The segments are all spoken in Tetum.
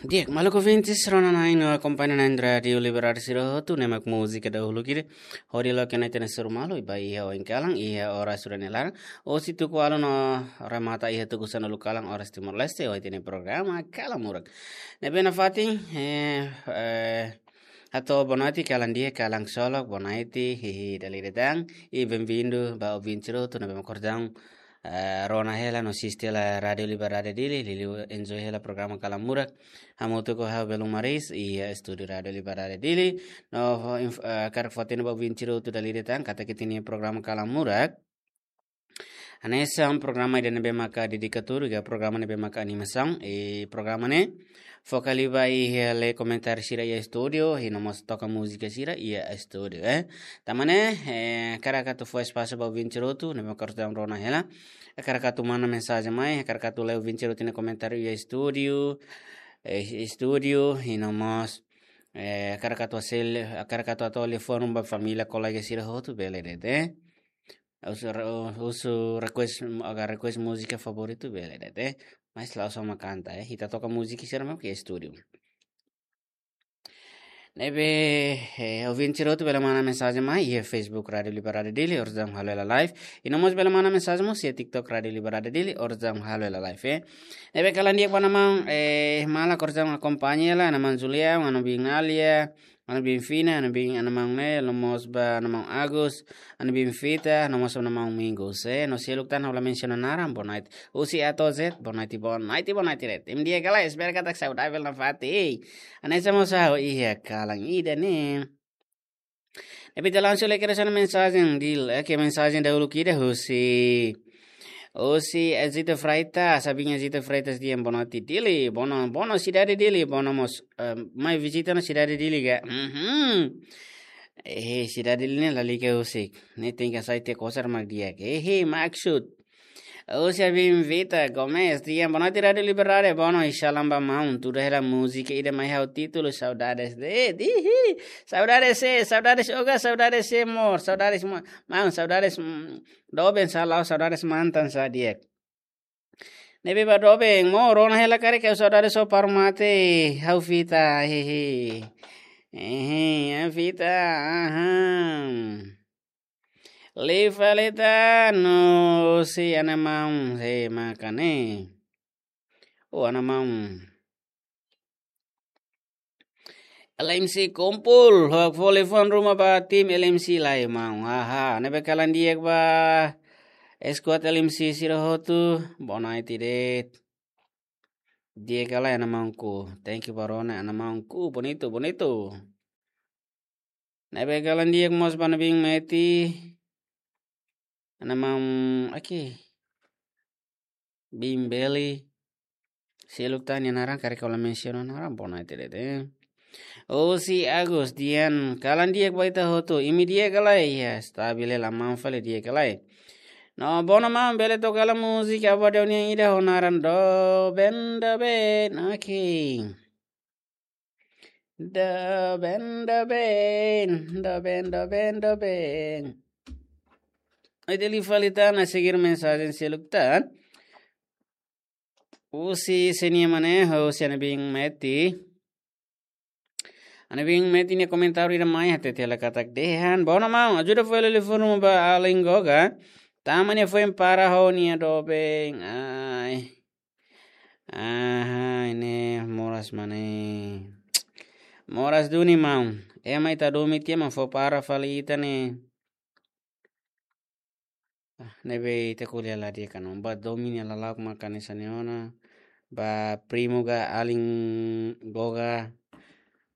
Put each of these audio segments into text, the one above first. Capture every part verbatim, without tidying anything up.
Di'ak, maluk ouvintes, rona-na'in no akompaña-na'in Rádiu Liberdade sira hotu, ne'e mak múzika dahuluk ida hodi loke ona ita-nia soru malu ba iha oin kalan, iha oras rua nia laran, husi tuku ualu no remata iha tuku sanulu kalan oras Timor-Leste, ho ita-nia programa Kalan Murak. Ne'ebé nafatin, eh, eh, hato'o bonoite, kalan di'ak, kalan ksolok, bonoite, hihi, dala ida tan, i benvindu ba ouvinte sira hotu ne'ebé mak orsida, eh, rona hela no asiste hela Rádiu Liberdade Dili, liuliu enjoy hela programa Kalan Murak. Hamutuk ho ha'u Belun Maris, iha estúdiu Rádiu Liberdade Dili. No, fó inf-, eh, hakarak fó-hatene ba ouvinte sira hotu dala ida tan, katak ita-nia programa Kalan Murak hanesan programa ida ne'ebé maka dedikadu, ka programa ne'ebé maka animasaun, i programa ne'e foka liu ba iha lee komentáriu sira iha estúdiu, i no mós toka múzika sira iha estúdiu, eh. Tanba ne'e, eh, hakarak atu fó espasu ba ouvinte sira hotu ne'ebé mak orsida rona hela. Hakarak atu manda mensajen mai, hakarak atu lee ouvinte sira hotu nia komentáriu iha estúdiu, eh, estúdiu, i no mós, eh, hakarak atu sel-, hakarak atu hato'o liafuan ruma ba família, kolega sira hotu, bele de'it, eh. Husu re-, husu request, agora request múzika favoritu, bele de'it, eh. Mas la'ós só mak kanta, eh. Ita toka múzika sira mak iha estúdiu. Ne'ebé, eh, ouvinte sira hotu bele manda mensajen mai iha Facebook Rádiu Liberdade Dili, orsida halo hela live. I no mós bele manda mensajen mós iha TikTok Rádiu Liberdade Dili, orsida halo hela live, eh. Ne'ebé kalan di'ak ba ana-maun, eh, maluk orsida akompaña hela, ana-maun Julia, ana-maun Binalia, ana-maun Fina, ana-maun, ana-maun Nel, no mós ba ana-maun Agus, ana-maun Vita, no mós ana-maun Mingos, eh. No seluk tan ha'u la mensiona naran, bonoite. Husi A to'o Z, bonoite, bonoite, bonoite de'it. Imi di'ak ka lae, espera katak saudavel nafatin. Hanesan mós ha'u iha kalan ida-ne'e. Ne'ebé ita langsung lee kedas ona mensajen Dili, eh, ke mensajen dahuluk ida husi, husi Ezito Freitas, abin Ezito Freitas dehan bonoite Dili, bono, bono sidade Dili, bono mós, eh, mai vizita ona sidade Dili ka. Mhm. Eh, sidade Dili ne'e lalika husik. Ne'e tenke sai te kosar mak di'ak. Eh, maksud. Husi abin Vita Gomes dehan bonoite Rádiu Liberdade, bono, i salam ba maun, tuda hela múzika ida mai ha'u títulu Saudades de'it, ihi. Saudades, eh, saudades oga, saudades, eh, amor, saudades ma-, maun, saudades, mm, doben sá, la'ós saudades mantan sá di'ak. Ne'ebé ba doben, mós rona hela karik ha'u saudades ho paru mate, ha'u Vita, hehe. Hehe, ha'u Vita, aham. Liu fali tan, husi ana-maun, he, maka ne'e. Oh, ana-maun. L M C kumpul, hok fó liafuan ruma ba tim L M C lai maun. Haha, ne'ebé kalan di'ak ba squad L M C sira hotu, bonoite de'it. Di'ak ka lae ana-maunku. Thank you ba rona, ana-maunku. Bonitu, bonitu. Ne'ebé kalan di'ak mós ba ana-maun Meti. Ana-maun, oke. Bimbeli. Seluk tan nia naran, karik ha'u la mensiona naran, bonoite de'it, eh. Husi Agus dehan, kalan di'ak ba ita hotu, imi di'ak ka lae, ya, stabil hela maun fali, di'ak ka lae. No, bono maun, bele toka hela múzika ba daudaun ida ho naran Doben, Doben, oke. Doben, doben, doben, doben, doben. Ita liu fali tan, ita sei segir mensajen seluk tan. Husi sé nia, mana, husi ana-maun Meti. Ana-maun Meti nia komentáriu ida mai hatete hela katak dehan, bono maun, ajuda fó hela liafuan ruma ba alin Goga. Tanba nia foin para ho nia doben. Ai. Aha, ne'e moras mana. Moras duni maun. Ema ita domin tiha mak fó para fali ita ne'e. Ah, ne'ebé ita ko'alia la di'ak ona. Ba domin nia lala'ok mak hanesan ne'e ona. Ba primu ka alin Goga.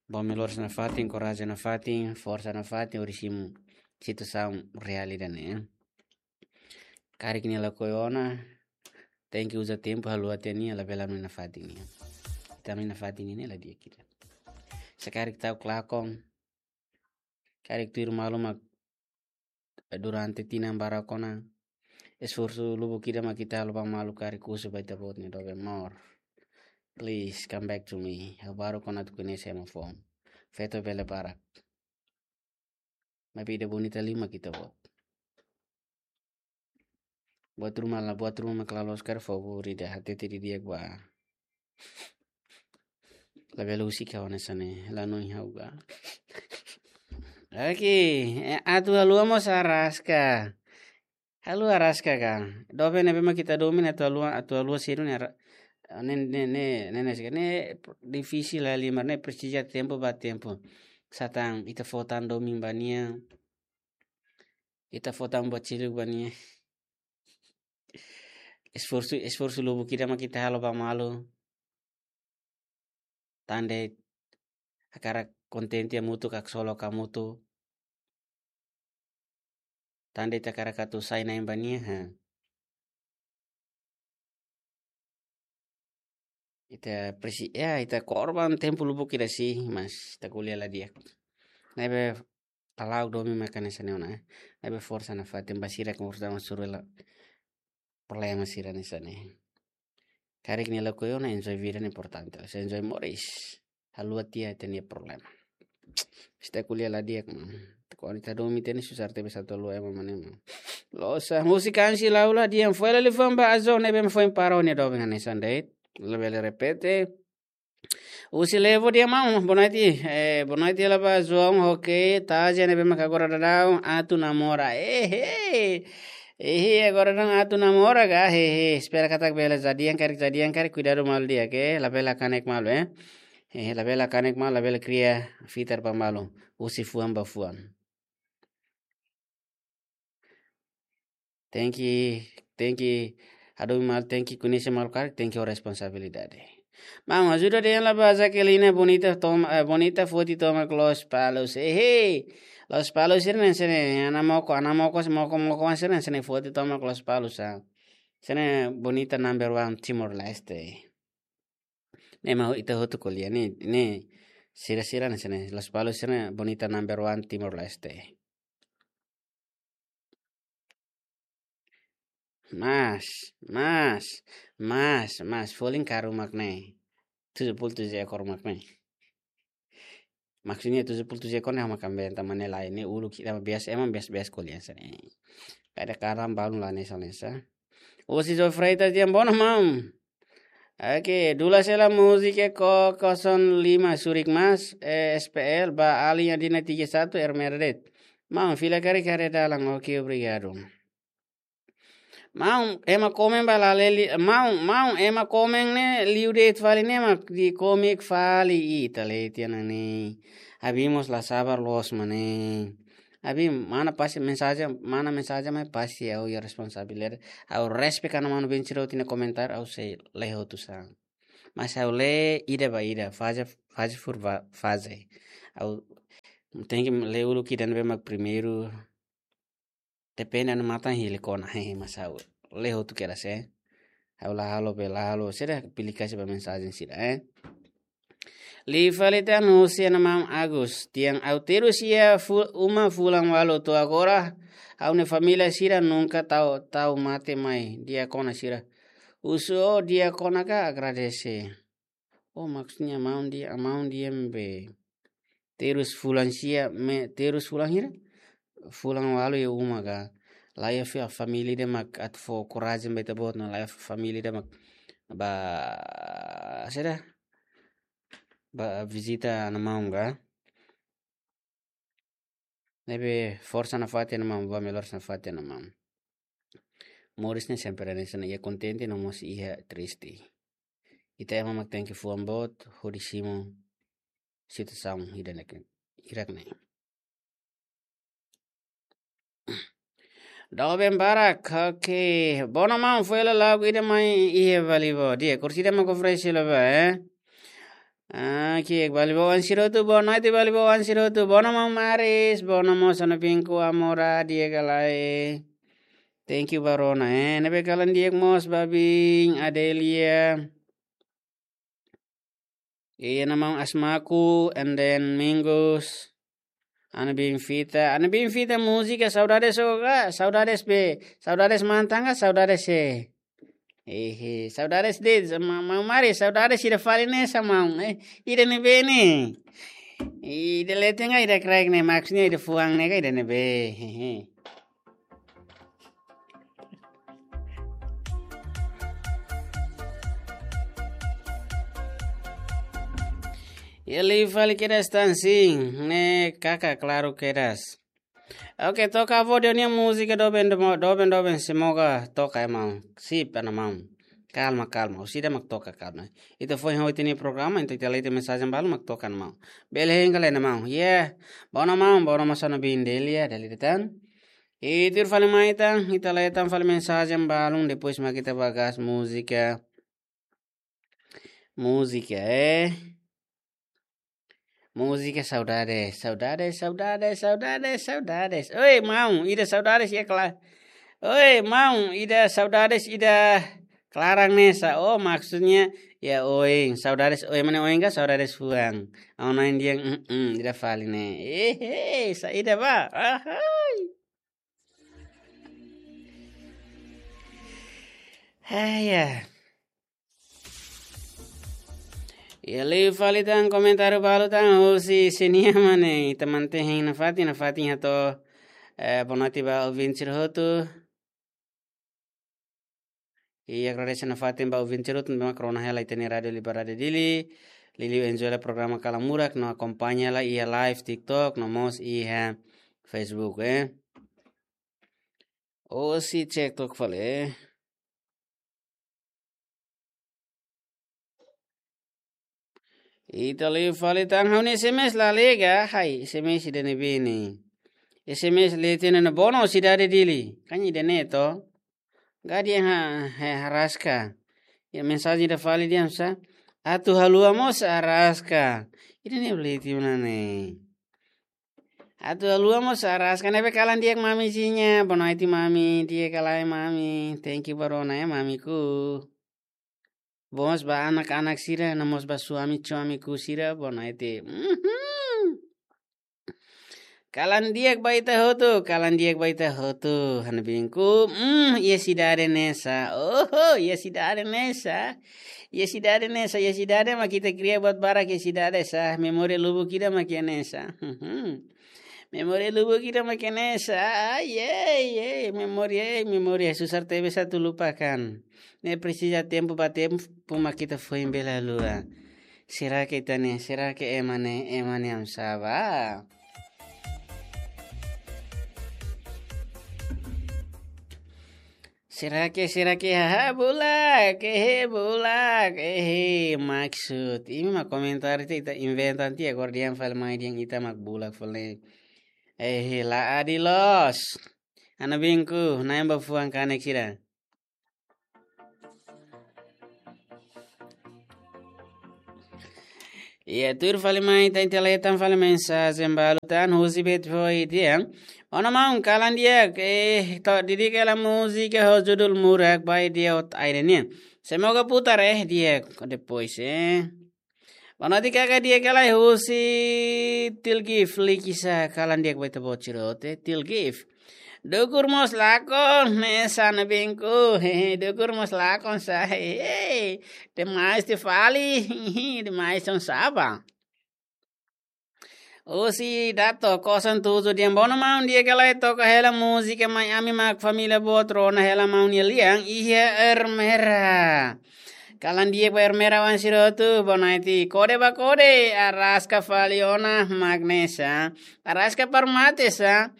Ba melhoras nafatin, korajen nafatin, forsa nafatin, hodi simu situasaun reál ida-ne'e. Karik nia lakohi ona, tenke uza tempu haluha tiha nia, labele ami nafatin nia. Ita ami nafatin nia ne'e la di'ak ida. Se karik ta'uk lakon, karik tuir malu mak durante tinan barak ona, esforsu lubuk ida mak ita halo ba malu, karik husu ba ita-boot nia doben, maun. Please come back to me. Ha'u baruk ona atu koñese ema foun. Feto bele barak. Maibé ida bonita liu mak ita-boot. Buat ruma la, buat ruma mak la loos karik, favór ida hatete didi'ak ba. Labele husik ha'u hanesan ne'e, la noin ha'u ka. Oke, eh, atu haluha mós araska. Haluha araska ka. Doben ne'ebé mak ita domin atu haluha, atu haluha sira-ne'e ara-, ne'e, ne'e, ne'e, ne'e, ne'e, ne'e, difisil halimar ne'e presiza tempu ba tempu. Satán ita fó tan domin ba nia. Ita fó tan buat seluk ba nia. Esforsu, esforsu lubuk ida mak ita halo ba malu. Tan de'it hakarak kontente hamutuk, haksolok hamutuk. Tan de'it hakarak atu sai na'in ba nia, ha. Ita presi-, ya, ita korban tempu lubuk ida sih, mas ita ko'alia la di'ak. Ne'ebé halo domin mak hanesan ne'e ona, eh. Ne'ebé forsa nafatin ba sira ke forsa masuk la problema sira hanesan ne'e. Karik nia lakohi ona, enjoy vida ne'e importante. Se enjoy moris. Haluha tiha ita-nia problema. Ita ko'alia la di'ak, man. Kuandu ita domin ita-nia susar tebes atu haluha ema mane, man. Loos, ah, múzika ansi lau la di'ak, foin lali famba azo ne'ebé foin para nia doben hanesan de'it. Labele repete. Husi Levo di'ak maun, boa noite. Eh, boa noite, la ba João, ok, Taja ne'ebé mak agora daudaun atu namora. Eh, eh. Eh, agora daudaun atu namora ka, eh, eh. Espera katak bele, jadian karik, jadian karik, kuidadu malu di'ak, eh. Labele kanek malu, eh. Eh, labele kanek malu, labele kria fitar ba malu. Husi fuan ba fuan. Tenke, tenke, hadomi malu, tenke koñese malu karik, tenke ho responsabilidade. Maun, ajuda dehan la ba Jaqueline Bonita toma, eh, Bonita foti tomak Lospalos. Eh, eh. Lospalos sira-ne'e hanesan ne'e, Anamoko, Anamoko, moko, moko sira-ne'e hanesan ne'e foti tomak Lospalos, ah. Hanesan ne'e Bonita number one Timor-Leste. Ne'e mak ita hotu ko'alia ne'e, ne'e sira-sira hanesan ne'e, Lospalos sira-ne'e Bonita number one Timor-Leste. Mas, mas, mas, mas, folin karuk mak ne'e. Tujuh puluh tujuh ekor mak ne'e. Maksudnya tujuh puluh tujuh ekor ne'e mak amben ta mane lai ne'e uluk ida mak biasa, ema biasa-biasa ko'alia hanesan ne'e. Kada karam balun la hanesan hanesan. Husi João Freitas di'ak, boa noite maun. Oke, dula sela múzika ko kosong lima surik mas, eh, S P L, ba alin Adina tiga satu, Ermerdet. Maun, fila karik haree dalan, oke, obrigadu. Maun, ema komen ba la leli, maun, maun, ema komen ne'e, liu de'it fali ne'e, mak di komik fali, ih, ita leten ona ne'e. Abin mós la sabar loos mak ne'e. Abin, mana pasti mensajen, mana mensajen mai pasti ha'u iha responsabilidade. Ha'u respect ona manu-bin sira hotu nia komentar, ha'u sei lee hotu sa. Mas ha'u lee ida ba ida, faze, faze por va-, faze. Ha'u tenke lee uluk ida ne'ebé mak primeiru. Depende ona matan hili kona, hehe, mas ha'u lee hotu kedas, eh. Ha'u la halo be la halo, sira pilih kasih ba mensajen sira, eh. Liu fali tan husi Ana Maun Agus, tiang ha'u terus iha fu-, uma fulan ualu to'o agora, ha'u-nia família sira nunka tau, tau mate mai, di'ak ona sira. Husu ó di'ak ona ka, agradese. Oh, maksudnya maun di'ak, maun di'ak be. Terus fulan sia, me, terus fulan hira? Fulan ualu iha uma ka. La iha fa-, família ida mak atu fó korajen ba ita-boot ona, la iha família ida mak ba, saida? Ba vizita Ana Maun ka. Ne'ebé forsa nafatin Ana Maun, ba melhor nafatin Ana Maun. Moris ne'e sempre hanesan ne'e, iha kontente no mós iha triste. Ita ema mak tenke fuan boot hodi simu situasaun ida-ne'e, hirak ne'e. Doben barak, oke. Bono maun foin la lagu ida mai iha Balibo. Di'ak, kursi ida mai konferensi la ba, eh? Ah, ki'ik Balibo wan sira hotu, boa noite Balibo wan sira hotu. Bono maun Maris, bono maun Sana Pinku Amora, di'ak ka lae. Thank you ba rona, eh. Ne'ebé kalan di'ak mós Babin, Adelia. Iya, Ana Maun Asmaku, and then Mingus. Ana Bin Fita, Ana Bin Fita múzika, saudades ó ka, saudades be, saudades mantan ka, saudades sé. Ehe, saudades de, ma-, ma-, mari, saudades ida fali ne'e sa maun, eh, ida ne'ebé ne'e. Ida leten ka, ida kraik ne'e, maksudnya ida fuan ne'e ka, ida ne'ebé, hehe. Iha liu fali kedas tan, sin, ne'e kaka klaru kedas. Oke, toka avó Deo nia múzika doben, doben, doben, semoga toka, maun. Sip, maun. Kalma, kalma. Ha'u sei mak toka, kalma. Ita foin ha'u ita-nia programa, entaun ita lee ita-nia mensajen balu mak toka, maun. Bele hein ka lae, maun. Ya. Bono, maun, bono, masa no bin dele ya, dele tan. Ita tuir fali mai tan, ita lee tan fali mensajen balun, depois mak ita ba gas múzika. Múzika, eh. Múzika saudade, saudade, saudade, saudade, saudades. Oi, maun, ida saudades iha kla-, oi, maun, ida saudades, ida klaran ne'e sá. Oh, maksudnya, ya, oin, saudades, oin, mana oin ka saudades fuan. Ha'u-nia oin dehan, mm, mm, ida fali ne'e. Eh, eh, saida ba? Ahai. Hai, ya. Iha liu fali tan komentáriu balu tan, husi senia mane, ita mantein nafatin, nafatin hato'o, eh, boa noite ba ouvinte sira hotu. I agradese nafatin ba ouvinte sira hotu, mak rona hela ita-nia Rádio Liberdade Dili, liuliu enjoy hela programa Kalan Murak, no akompaña hela iha live TikTok, no mós iha Facebook, eh. Hosi cek tok fali, eh. Ita liu fali tan, ha'u-nia S M S la lega, hai, S M S ida ne'ebé ne'e. S M S lee tiha ona, bono sidade Dili. Kan ida-ne'e to. Gadian ha, ha, haraska. Ya, mensajen ida fali dehan sá. Atu haluha mós haraska. Ida-ne'e lee tiha ona ne'e. Atu haluha mós haraska, ne'ebé kalan di'ak mamizinha, boa noite mami, di'ak ka lae mami, thank you ba rona ya mamiku. Boas ba anak-anak sira, no mós ba suami-suamiku sira, boa noite. Mhm. Kalan di'ak ba ita hotu, kalan di'ak ba ita hotu, ha'u-nia binku, mm, iha sidade ne'e sá, oho, iha sidade ne'e sá, iha sidade ne'e sá, iha sidade mak ita kria buat barak iha sidade sá, memória lubuk ida mak iha ne'e sá. Mhm. Memória lubuk ida mak iha ne'e sá. Ai, ai, ai, memória, ai, memória. Susar tebes atu lupakan. Ne'e presiza tempu ba tempu mak ita foin bele haluha. Será que ita-nia, será que ema ne'e, ema ne'e oinsá ba? Será que, será que, haha, bulak, ehe, bulak, ehe, maksud. Imi mak komentar ita, ita inventa tiha, agora dehan fali mai dehan ita mak bulak fali. Ehe, la adil loos. Ha'u-nia binku, na'in ba fuan kanek sira. Iya, tuir fali mai tan, ita lee tan fali mensajen balu tan, husi Betfoit dehan. Ona maun, kalan di'ak, eh, to'o dedika hela múzika ho judul Murak ba ida-idak aire nian. Semoga putar, eh, di'ak, depois, eh. Boa noite kaka, di'ak ka lae, husi Tilgif, likisa, kalan di'ak ba ita-boot sira hotu, eh, Tilgif. Dukur mós lakon, ne'e sá, ha'u-nia binku, hehe, dukur mós lakon sá, hehe, demais tiha fali, demais oinsá ba. Husi Dato, kosan tuju dehan, bono maun, di'ak ka lae, toka hela múzika mai ami mak família boot rona hela maun nia lian, iha Ermera. Kalan di'ak ba Ermera-oan sira hotu, boa noite. Kode ba kode, araska fali ona mak ne'e sá. Araska para mate sá.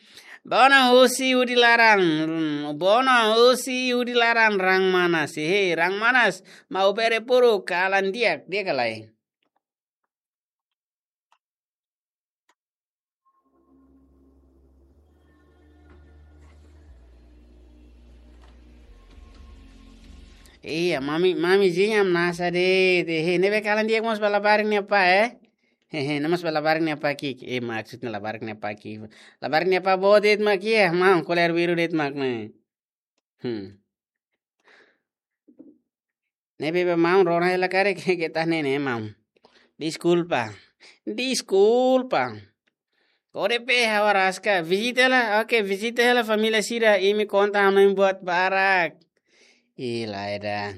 Bono husi Udi Laran, bono husi Udi Laran Rang Manas. Hehe, Rang Manas, Maubere Puru, kalan di'ak, di'ak ka lae. Iya, mami, mamizinha hamnasa de'it, hehe, ne'ebé kalan di'ak mós ba labarik nia apá, eh? Hehe, ne'e mós ba labarik nia apá ki'ik. Eh, maksudnya labarik nia apá ki'ik. Labarik nia apá boot de'it mak iha, maun, koler biru de'it mak ne'e. Hmm. Ne'ebé ba maun, rona hela karik, ke tah ne'e ne'e maun. Deskulpa. Deskulpa. Kode pe ha'u araska. Vizita hela, oke, vizita hela família sira, imi konta ha'u-nia buat barak. Ih, lae ida.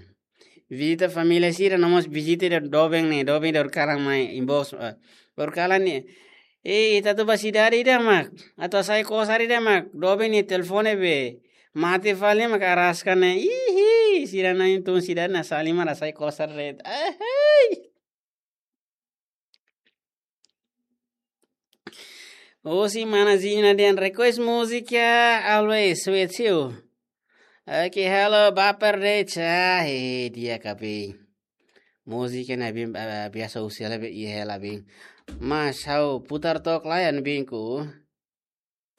Vizita família sira, no mós vizita ida doben ne'e, doben ida horikalan mai inbox, eh, horikalan ne'e. Eh, ita atu ba sidade ida mak, atu hasai kosar ida mak, doben nia telefone be mate fali mak araska ne'e. Ihi, sira na'in-tun sidade ne'e sali mak hasai kosar de'it. Ahai. Husi mana Zina dehan request múzika Always With You. Oke, halo, baper de'it, ah, eh, di'ak ka be. Múzika ne'e bin, ah, biasa husi hela be, iha hela bin. Mas ha'u putar took lai an binku.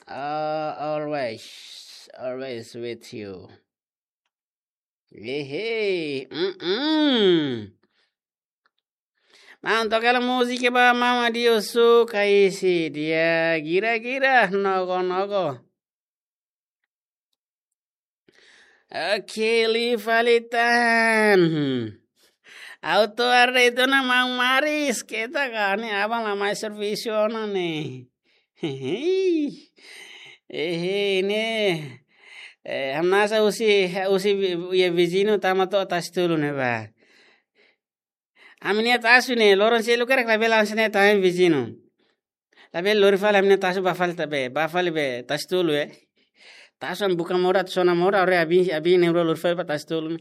Ah, Always, Always With You. Hehe, mm-mm. Maun, toka hela múzika ba maun Adilson Kaisi, dehan gira-gira, nogo-nogo. Oke, liu fali tan. Auto arde itu na maun Maris, keta ka ne'e aban la mai servisu ona ne'e. Hehe, ne'e. Eh, hamnasa husi, husi vi-, iha viziñu tama to'o Tasi Tolu ne'ebá. Ami-nia tasu ne'e, loron seluk karik labele hanesan ne'e tama iha viziñu. Labele lori fali ami-nia tasu bá fali ta be, bá fali be Tasi Tolu, eh. Tasu ami buka moras, sona moras, ore abi, abi ne'e lori fali ba Tasi Tolu.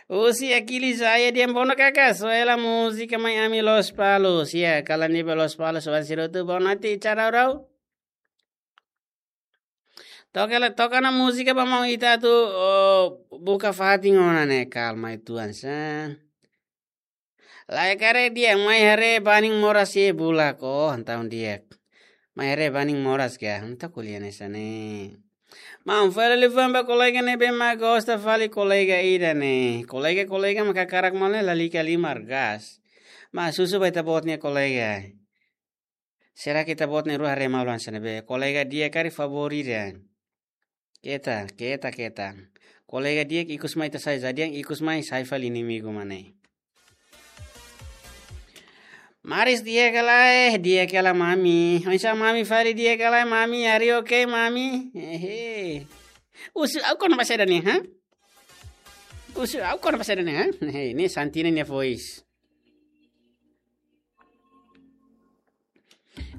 Husi Aquiles Aia dehan bono kaka, soe hela múzika mai ami Lospalos. Ya, kalan ne'ebé Lospalos, oan sira hotu, bonoite, tchau, rau, rau. Toka hela, toka ona múzika ba maun ita atu, oh, buka fatin ona ne'e, kalma uitoan sá. Lae, karik di'ak, mai haree banin moras iha bulak, oh, entaun di'ak. Mai haree banin moras ka, entaun ko'alia hanesan ne'e. Maun, fali liafuan ba kolega ne'ebé mak gosta fali kolega ida ne'e. Kolega, kolega mak hakarak malu ne'e lalika liu mak gas. Mas husu ba ita-boot nia kolega. Será ke ita-boot na'in-rua haree malu hanesan ne'ebé? Kolega di'ak karik favór ida? Keta, keta, keta. Kolega di'ak ikus mai ita sai, za di'ak ikus mai sai fali inimigu mak ne'e. Maris di'ak ka lae, di'ak ka lae mami. Oinsá mami fali, di'ak ka lae mami, are you okay mami? Hehe. Husu ha'u kona-ba saida ne'e, ha? Husu ha'u kona-ba saida ne'e, ha? Hehe, ne'e Santina nia voice.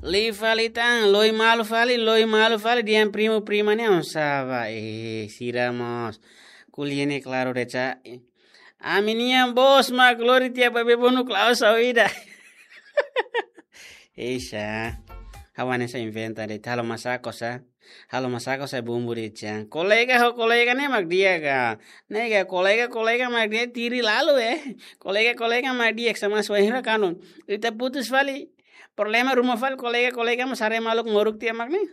Liu fali tan, loi malu fali, loi malu fali, dehan primu prima ne'e oinsá ba, eh, sira mós. Ko'alia ne'e klaru de'it sá. Ami-nia bos mak lori tiha ba bebonu klaus au ida. Eisa. Ha'u hanesan inventa de'it, halo masako sá. Halo masako sá bumbu de'it sá. Kolega ho kolega ne'e mak di'ak ka. Ne'e ka kolega, kolega mak di'ak tiri lalu, eh. Kolega, kolega mak di'ak sama suai hira kanun. Ita putus fali. Problema ruma fali kolega, kolega mak sare maluk moruk tiha mak ne'e.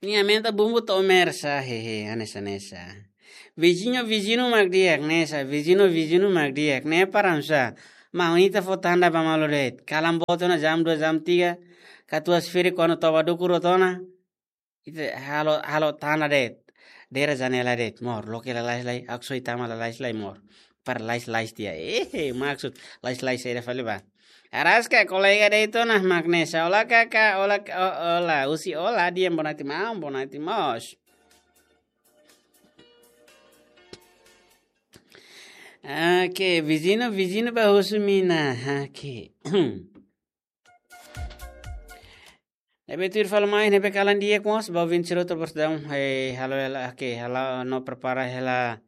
Nia aumenta bumbu to'o mersa, hehe, hanesan ne'e sá. Viziñu, viziñu mak di'ak, ne'e sá, viziñu, viziñu mak di'ak, ne'e param sá. Maun, ita fó tanda ba malu de'it. Kalan boot ona jam dua, jam tiga. Katuas firi kuandu toba dukur hotu ona. Ita halo, halo tanda de'it. Dera janela de'it, mor. Loke lalais lai, akso itama lalais lai, mor. Para lais-lais tiha. Eh, maksud lais-lais saida fali ba. Araska, kolega de'it ona mak ne'e sá. Olá, kaka, olá, ka-, o-, olá. Husi olá, dehan bonoite maun, bonoite mós. Oke, viziñu, viziñu ba husu mina. Oke. Ne'ebé tuir fali mai, ne'ebé kalan di'ak mós, ba ouvinte sira hotu bosdaun, eh, halo hela, oke, halo no prepara hela,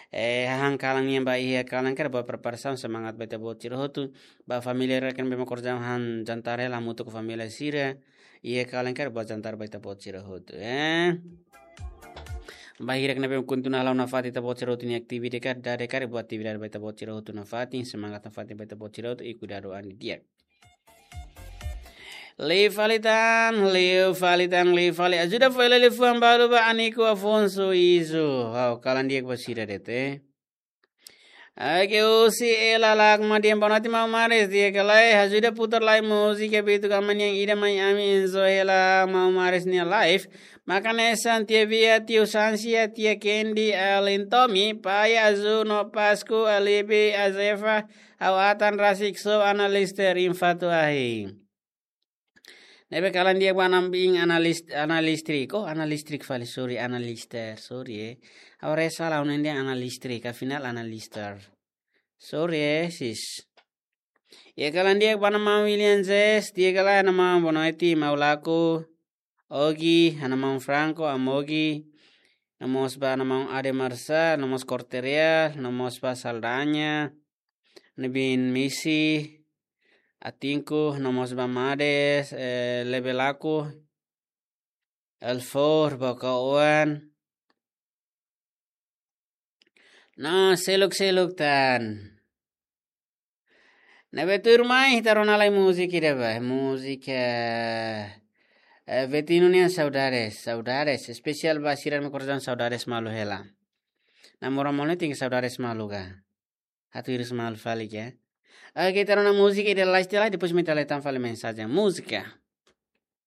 eh, hahán kalan nian ba iha kalan karik ba preparasaun semangat ba ita-boot sira hotu, ba família rekan bema korjaun han jantar hela hamutuk ho família sira, iha kalan karik ba jantar ba ita-boot sira hotu, eh. Ba hirak ne'ebé kontinua halo nafatin ita-boot sira hotu nia atividade karik, dade karik ba atividade ba ita-boot sira hotu nafatin, semangat nafatin ba ita-boot sira hotu, i kuidadu an di'ak. Liu fali tan, liu fali tan, liu fali. Ajuda fó hela liafuan balu ba Anico Afonso Izo. Ha'u kalan di'ak ba sira de'it, eh. Oke, husi Ela Lakma dehan bonoite maun Maris, di'ak ka lae, ajuda putar lai múzika Bitu Kama nian ida mai ami enjoy hela maun Maris nia live. Maka hanesan tia Via, tiu Sansia, tia Kendi, alin Tomi, pai Azu no Pasku, alibi Azefa, ha'u atan rasik só ana Lister infatu ahi. Ne'ebé kalan di'ak ba ana bin ana Lis-, ana Listrik. Oh, ana Listrik fali, sorry, ana Lister, sorry, eh. Ha'u haree sala, ha'u-nia dehan ana Listrik, afinál ana Lister. Sorry, eh, sis. Iha kalan di'ak ba ana maun William Zes, di'ak ka lae ana maun, bonoite, maun Laku, Ogi, ana maun Franco, Amogi, no mós ba ana maun Ade Marsa, no mós Corteria, no mós ba Saldanha, ne'ebé Misi, Atinku, no mós ba Mades, eh, Lebelaku, Elfor, Bokaoan. No, seluk-seluk tan. Ne'ebé tuirmai, ita rona lai múzika ida ba, múzika, eh, Vetino nian Saudades, Saudades, espesiál ba sira-nia korasaun, saudades malu hela. Namora mone ting saudades malu ka. Atu iris malu fali ke. Oke, ita rona múzika ida lai, ita lai, depois ita lai tan fali mensajen. Múzika.